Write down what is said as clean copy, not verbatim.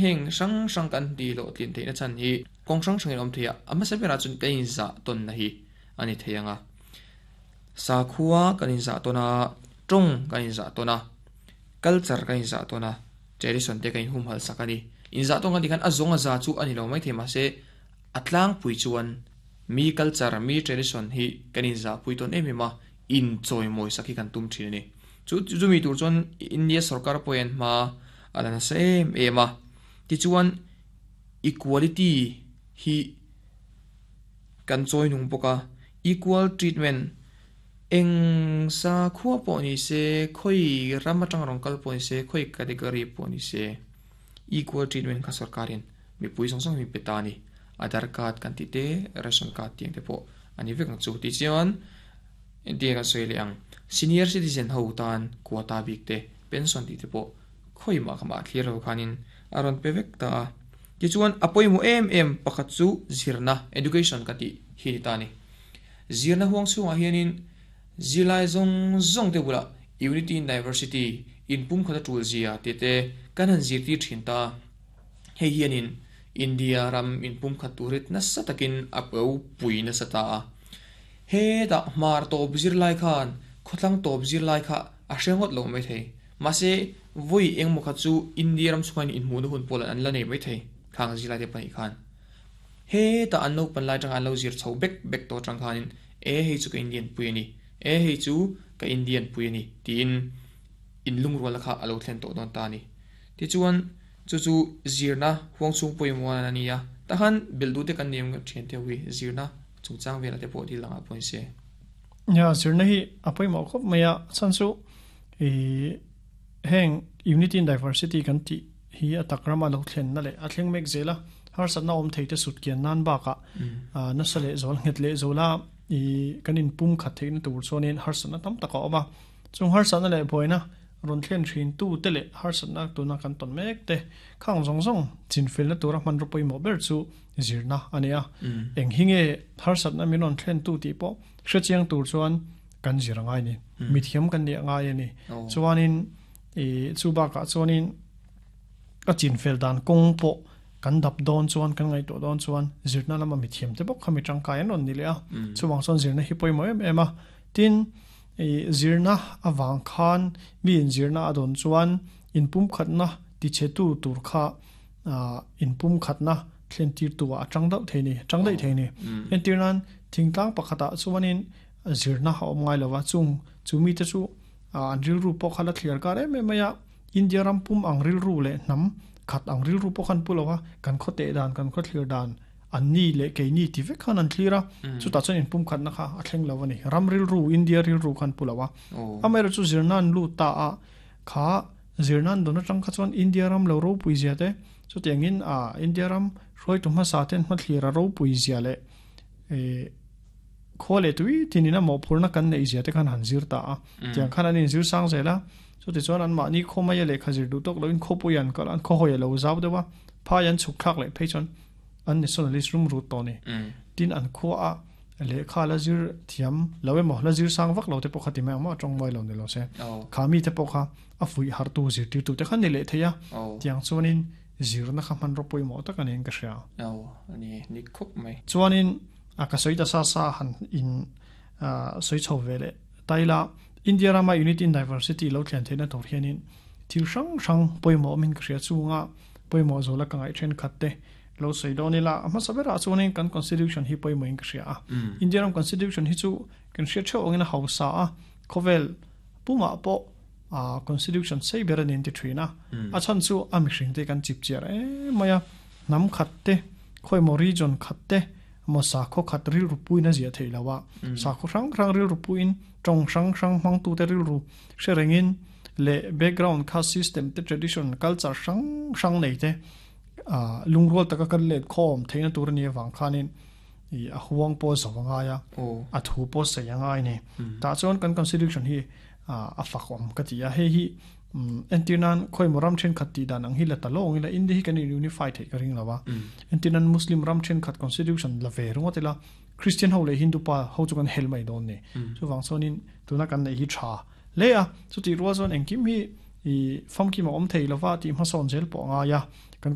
Heng hrang hrang kan tih hlawhtlin theihna chhan hi kawng hrang hrangin a awm thei a, a hmasa berah chuan kan inzah tawnna hi a ni thei ang a. Sakhua kan inzah tawn a, tawng kan inzah tawn a, culture kan inzah tawn a, tradition te kan inhumhalh sak a ni. Inzah tawn kan tih khan a zawng a za chu a ni lo maithei mahse a tlangpui chuan mi culture, mi tradition hi kan inzahpui tawn em em a, inchawimawi sak hi kan tum thin a ni. Chu chumi tur chuan India sorkar pawh hian hma a la nasa em em a. Tichuan equality hi kan chawi nung bawk a, equal treatment eng sakhua pawh ni se, khawi ram atanga rawn kal pawh ni se, khawi category pawh ni se, equal treatment kha sorkarin mipui zawng zawng hi min pe ta a ni. Aadhar card kan tih te, ration card tih ang te pawh a ni vek ang chu. Tichuan. Entir kan sawi leh ang, senior citizen ho tan quota bik te, pension tih te pawh khawi mah kha mah thlir lo khanin a rawn pe vek ta a. Tichuan a pawimawh em em pakhat chu zirna, education, ka tih hi ni ta a ni. Zirna huang chhungah hianin zirlai zawng zawng te bulah unity in diversity, inpumkhat a tul zia tih te kan han zirtir thin ta a. Hei hianin India ram inpumkhat tur hi nasa takin a pui nasa ta a. Hetah hmar tawp zirlai khan khawthlang tawp zirlai kha a hre ngawt lo mai thei. Mahse, vawi engmaw kha chu India ram chhungah hian inhmuhna hun pawh an la nei mai thei, khang zirlai te pahnih khan. Hetah an naupan lai atanga an lo zir chho bek bek tawh atang khanin e hei chu ka Indian pui a ni, e hei chu ka Indian pui a ni tiin inlungrualna kha a lo thlen tawh dawn ta a ni. Tichuan, chu chu zirna huang chhung pawimawh a ni a, tahan belh duh te kan nei ang thian te ho hi zirna chungchang velah te pawh thil dangah pawh ni se. Nia, zirna hi a pawimawh khawp mai a, a chhan chu ih heng unity in diversity kan tih hi a tak rama lo thlenna leh a thleng mek zel a, harsatna awm thei te sut kian nan bakah nasa leh zual nghet leh zuala ih kan inpum khat theihna tur chuanin harsatna tam tak a awm a, chung harsatna leh buaina Rawn thlen thin tu te leh harsatna tuna kan tawn mek te khang zawng zawng chinfelna tura hmanraw pawimawh ber chu zirna a ni a. Eng hi nge harsatna min rawn thlen tu tih pawh hrechiang tur chuan kan zir a ngai ni. Mithiam kan nih a ngai a ni. Chuanin ih chu bakah chuanin a chinfel dan kawng pawh kan dap dawn chuan kan ngaihtuah dawn chuan zirna lama mithiam te bawk kha mi tangkai an rawn ni leh a. Chuvang chuan zirna hi pawimawh em em a. Tin. I zirna avang khan mi inzirna a dawn chuan inpumkhatna tichhetu tur kha inpumkhatna thlentirtu ah a tang deuh thei ni, tang daih thei ni. Entir nan thingtlang pakhatah chuanin zirna a awm ngai lova, chung chu mite chu an rilru pawh kha la thliar kar em em mai a, India ram pum ang rilru leh hnam khat ang rilru pawh khan pu lova, kan khaw teh dan, kan khaw thlir dan, An ni leh keini ti vek khan an thlir a, chutah chuan inpumkhatna kha a thleng lo a ni. Ram rilru, India rilru khan pu lo a. Amaherawhchu chu zirna an lut ta a, kha zirna an dawn atang kha chuan India ram lo ropui zia te, chutiangin India ram hruaitu hmasa ten hmathlir a ropui zia leh khua leh tui tinin a mawhphurhna kan neih zia te khan han zir ta a. Tiang khan an inzir sang zel a, chutichuan anmahni khaw maia lehkha zir duh tawk loin khawpui an kal a, an khawhawi a lo zau deuh a, phai an chhuk thlak leh phei chuan an nationalist rum rut tawh a ni. Tin an khua a lehkha la zir thiam lo emaw la zir sang vak lo te pawh kha ti mai ang maw a tawng mawi lo ni lo se. Kha mi te pawh kha a fuih hartu zirtirtu te kha ni leh thei a. Tiang chuanin zirna kha hmanraw pawimawh tak a niin ka hria. Chuanin a ka sawi ta sa sa han in sawi chho ve leh taila India rama unity in diversity lo thlen theihna tur hianin thil hrang hrang pawimawh awmin ka hria chunga pawimawh zawla ka ngaih thenkhat te lo sawi dawn ila a hmasa berah chuanin kan constitution hi pawimawhin ka hria a India ram constitution hi chu kan hriat theuh angin a hausa a khawvel pumah pawh a constitution sei ber a ni an ti thin a a chhan chu a mihring te kan chip chiar em mai a hnam khat te khawi maw region khat te maw sakhaw khat rilru puiin a ziah theih loh a sakhaw hrang hrang rilru puiin tawng hrang hrang hmangtu te rilru hre rengin leh background kha system te tradition culture hrang hrang nei te lungrual taka kan let khawm theihna tur a nih avang khanin ih a huang pawh zo a ngai a a thu pawh sawi a ngai a ni tah chuan kan constitution hi a fak awm ka ti a hei hi entir nan khawi maw ram thenkhat tih dan ang hi la ta lawng ila India hi kan in unify theih ka ring lo a entir nan Muslim ram thenkhat constitution la ve ringawt ila Christian ho leh Hindu pa ho chu kan hel mai dawn ni chuvang chuanin tuna kan neih hi tha hle a chutih rual chuan engkim hi ih famkim a awm thei lova tih hmasawn zel pawh a ngai a. Kan.